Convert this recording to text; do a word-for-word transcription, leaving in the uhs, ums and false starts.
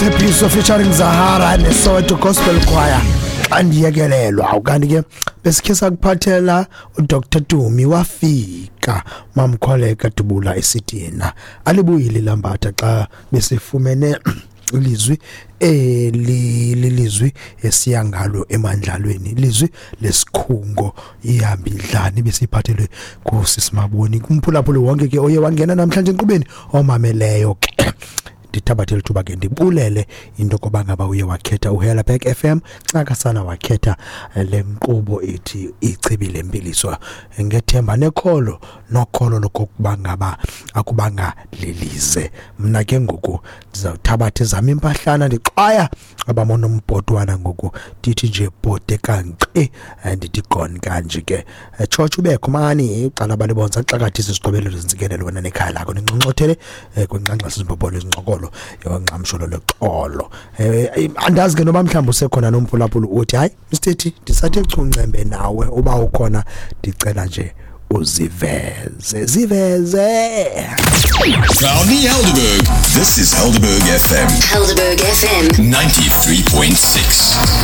Tshepiso featuring Zahara neSoweto Gospel Choir, "Xa Ndiyekelelwa". Kanti ke besikhe sakuphathela uDoctor Tumi, wafika Mamkholeka Dubula esithi yena alibuyile lambatha xa besifumene ilizwi eli lilizwi esiya ngalo emandlalweni, ilizwi lesikhungo ihambidlani besiphathelwe kusisimaboni. Kumphulaphuli wonke ke oye wangena namhlanje enkqubeni, omameleyo ke, ndithabathe lithuba ke ndibulele into yokuba ngaba uye wakhetha uHellerberg F M, ncakasana wakhetha le nkqubo ithi Ichibi Lempiliso, ngethemba nekholo nokholo lokokuba ngaba akubanga lilize. Mna ke ngoku ndizawuthabatha ezam impahlana, ndixwaya abamonombhotwana ngoku, ndithi nje bhode kanqi, ndithi gone kanje ke. Tshotsho ubekho mani uqala balibonza xakathisa izigqobelelo zentsikelelo wena nekhaya lakho, ninxonxothele kwinxanxase izimbobolo izincokolo yongqamsholo loxolo. Andazi ke noba mhlawumbi usekhona nomphulaphula uthi, "Hayi Mr ndisathe chuncembe nawe." Uba ukhona, ndicela nje uziveze, ziveze. Proudly Helderberg. This is Helderberg F M. Helderberg F M. ninety-three point six.